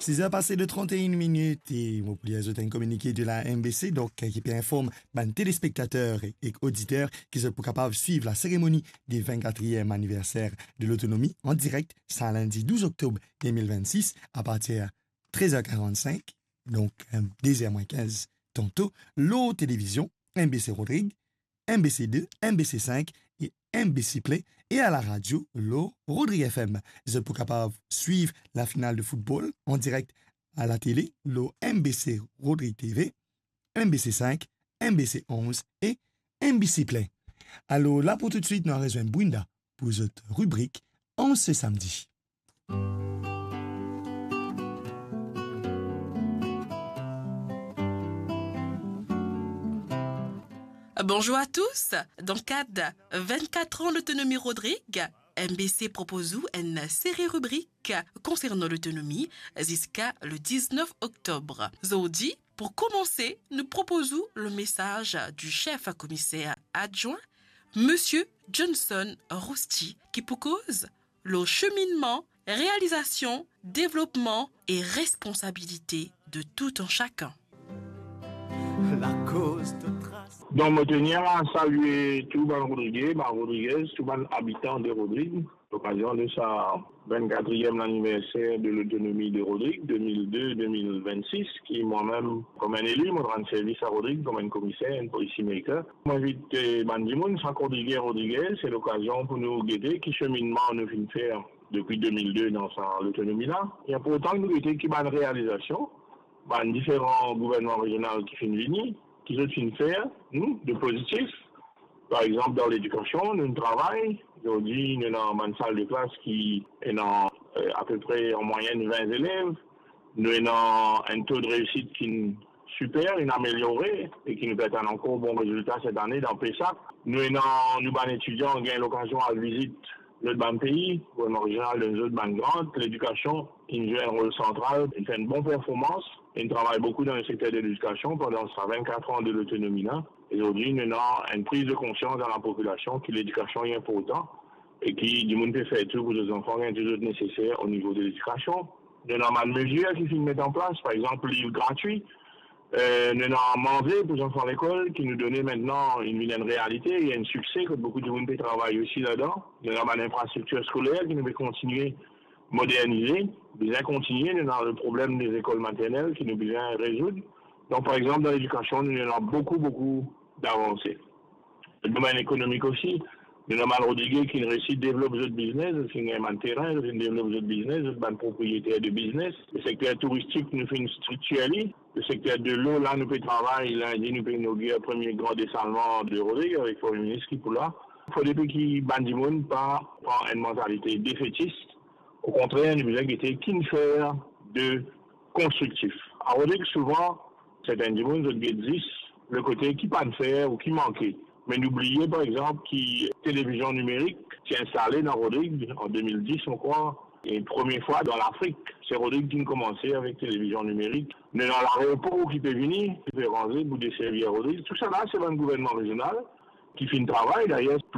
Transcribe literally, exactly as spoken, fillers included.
Siz er pase de trant e enn minit e mo pou lir zot enn kominike de la M B C, donk, ki pe inform bann telespektater ek oditer ki zot pou kapav swiv la seremoni de vennkatriem aniverser de lotonomi an direk sa lindi douz oktob de mil vennsis, apartir trez er karannsink, donk, eh, de zer mwin kinz tanto, lor televizion M B C Rodrig, M B C de, M B C sink e M B C Play, e a la radio lor Rodrig F M. Zot pou kapav swiv lafinal de foutbol an direk a latele lor M B C Rodrig T V, M B C sink, M B C onz e M B C Play. Alor, la pou toutswit, nou al rezwenn Brenda pou zot ribrik An se samdi. Bonjour à tous. Dan kad vennkat an lotonomi Rodrig, M B C propoz ou enn seri ribrik konsernan lotonomi ziska le diznef oktob. Zordi, pou koumanse, nou propoz ou le mesaz du chef komiser adjwin, Monsieur Johnson Rousty, ki pou koz lor seminnman, realizasion, devlopman e responsabilite de tout un chacun. Lakoz to tras. Donk, mo tenir a salie tou bann Rodrige, bann Rodrigez, tou bann abitan de Rodrig, lokazion de sa vennkatriem laniverser de lotonomi de Rodrig, de mil de de mil vennsis, ki mwa mem, kouma enn eli, mo rann servis a Rodrig kouma enn komiser, enn policy maker. Mo invit, eh, bann dimoun, sak Rodrige, Rodrigez, se lokazion pou nou gete ki seminnman nou finn fer depi de mil de dan sa lotonomi la. Li inportan ki nou gete ki bann realizasion bann diferan gouvernman rezional ki finn vini, ki zot finn fer, hmm, de pozitif. Par exanp, dan ledikasion, nou travay. Zordi, nou ena bann sal de klas ki ena, eh, apepre an mwayenn vin zelev. Nou ena enn to de reisit ki siper, inn ameliore e ki nou pe atann ankor bon rezilta set ane dan PESAC. Nou ena, nou bann etidian gagn lokazion al vizit lot bann pei, gouvernman rezional donn zot bann grant, ledikasion inn zwe enn rol santral, inn fer enn bon performans, inn travay boukou dan le sekter de ledikasion pandan sa vennkat an de lotonomi la. E zordi, nou ena enn priz de konsians dan lapopilasion ki ledikasion li inportan e ki dimoun pe fer tou pou zot zanfan gagn tou zot neseser o nivo de ledikasion. Nou ena bann mezir ki finn met an plas, par exanp, liv gratwi, eh, nou ena manze pou zanfan lekol ki nou done mintnan, inn vinn enn realite, li enn sikse kot boukou dimoun pe travay osi ladan. Nou ena bann infrastriktir skoler ki nou pe kontigne modernize, bizin kontigne, nou ena le problem de lekol maternel ki nou bizin rezoud. Donk, par exanp, dan ledikasion, nou ena boukou, boukou davanse. Domenn ekonomik osi, nou ena bann Rodrige ki inn resi devlop zot biznes, zot finn gagn bann terin, zot finn devlop zot biznes, zot bann propriyeter de biznes. Le sekter touristik, nou finn striktir li. Le sekter de lo, la, nou pe travay, lindi, nou pe inogir premie gran desalman de Rodrig avek Premie Minis ki pou la. Fode pe ki bann dimoun pa pran enn mantalite defetis. Okontrer, nou bizin gete ki nou fer de konstriktif. A Rodrig, souvan, sertin dimoun, zot get zis le kote ki pa'nn fer ou ki manke. Me nou bliye, par exanp, ki televizion nimerik ti instale dan Rodrig an de mil dis, mo krwar, e premie fwa dan Lafrik. Se Rodrig ki'nn koumanse avek televizion nimerik. Nou ena laeropor ki pe vini, ki pe ranze pou deservi Rodrig. Tousala, se bann gouvernman rezional ki finn travay, dayer,